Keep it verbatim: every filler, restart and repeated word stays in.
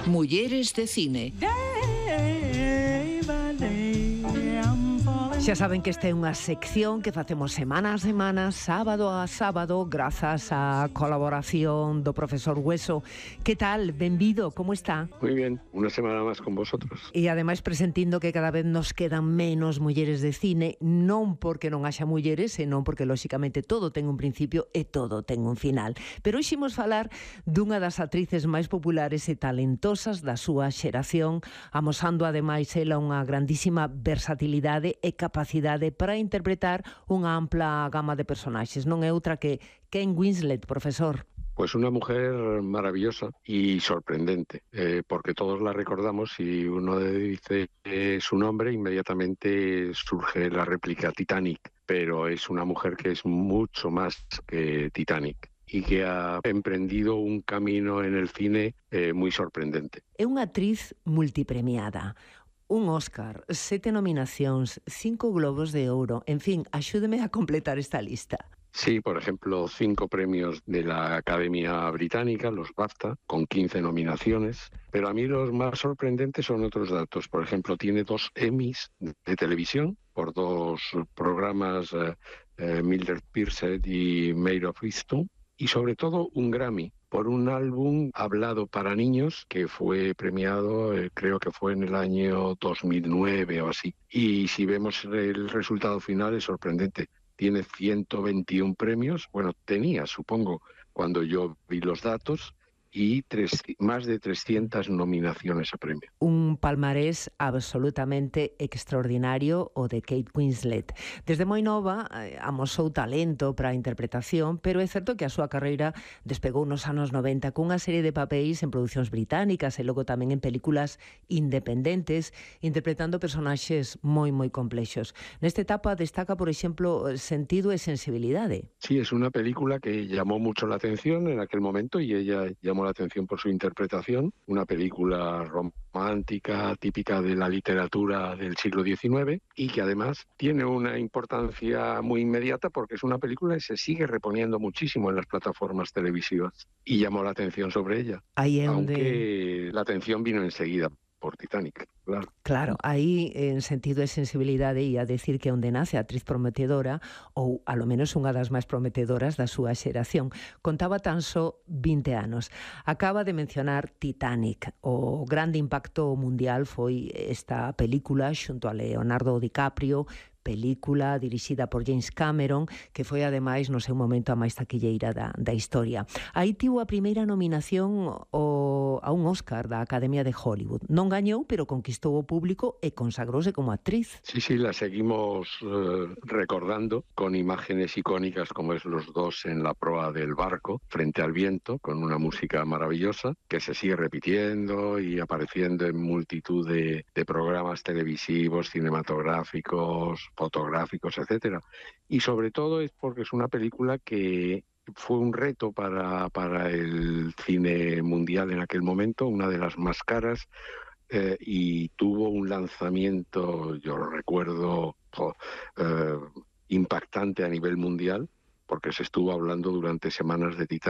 Mulleres de cine. Xa saben que esta é unha sección que facemos semana a semana, sábado a sábado, grazas á colaboración do profesor Hueso. Que tal? Benvido, como está? Muy bien, una semana más con vosotros. E ademais presentindo que cada vez nos quedan menos mulleres de cine, non porque non haxa mulleres, senón porque, lóxicamente, todo ten un principio e todo ten un final. Pero hoxe imos falar dunha das actrices máis populares e talentosas da súa xeración, amosando ademais ela unha grandísima versatilidade e capacidade para interpretar unha ampla gama de personaxes. Non é outra que Kate Winslet, profesor. Pues una mujer maravillosa y sorprendente, eh, porque todos la recordamos y uno dice eh, su nombre, inmediatamente surge la réplica Titanic, pero es una mujer que es mucho más que Titanic y que ha emprendido un camino en el cine eh, muy sorprendente. É unha actriz multipremiada. Un Óscar, sete nominacións, cinco Globos de Ouro. En fin, axúdeme a completar esta lista. Sí, por ejemplo, cinco premios de la Academia Británica, los BAFTA, con quince nominaciones. Pero a mí los más sorprendentes son otros datos. Por ejemplo, tiene dos Emmys de televisión por dos programas, eh, eh, Mildred Pierce y Made of Easton. Y sobre todo un Grammy por un álbum hablado para niños que fue premiado, eh, creo que fue en el año dos mil nueve o así. Y si vemos el resultado final es sorprendente. Tiene ciento veintiún premios, bueno, tenía, supongo, cuando yo vi los datos, y tres, más de trescientas nominaciones a premio. Un palmarés absolutamente extraordinario o de Kate Winslet. Desde moi nova eh, amosou talento para a interpretación, pero é certo que a súa carreira despegou nos anos noventa cunha serie de papéis en producións británicas e logo tamén en películas independentes, interpretando personaxes moi moi complexos. Nesta etapa destaca, por exemplo, Sentido e sensibilidade. Sí, es una película que llamó mucho la atención en aquel momento y ella llamó la atención por su interpretación, una película romántica típica de la literatura del siglo diecinueve y que además tiene una importancia muy inmediata porque es una película que se sigue reponiendo muchísimo en las plataformas televisivas y llamó la atención sobre ella, Ahí es aunque donde... la atención vino enseguida por Titanic, claro. Claro, aí en Sentido e sensibilidade ia decir que onde nace a actriz prometedora ou a lo menos unha das máis prometedoras da súa xeración. Contaba tan só vinte anos. Acaba de mencionar Titanic. O grande impacto mundial foi esta película xunto a Leonardo DiCaprio, película dirixida por James Cameron, que foi ademais no seu momento a máis taquilleira da, da historia. Aí tivo a primeira nominación o, a un Óscar da Academia de Hollywood. Non gañou, pero conquistou o público e consagrouse como actriz. Sí, sí, la seguimos eh, recordando con imágenes icónicas como es los dos en la proa del barco frente al viento, con una música maravillosa que se sigue repitiendo y apareciendo en multitud de, de programas televisivos, cinematográficos, fotográficos, etcétera. Y sobre todo es porque es una película que fue un reto para, para el cine mundial en aquel momento, una de las más caras, eh, y tuvo un lanzamiento, yo lo recuerdo, eh, impactante a nivel mundial, porque se estuvo hablando durante semanas de Titanic.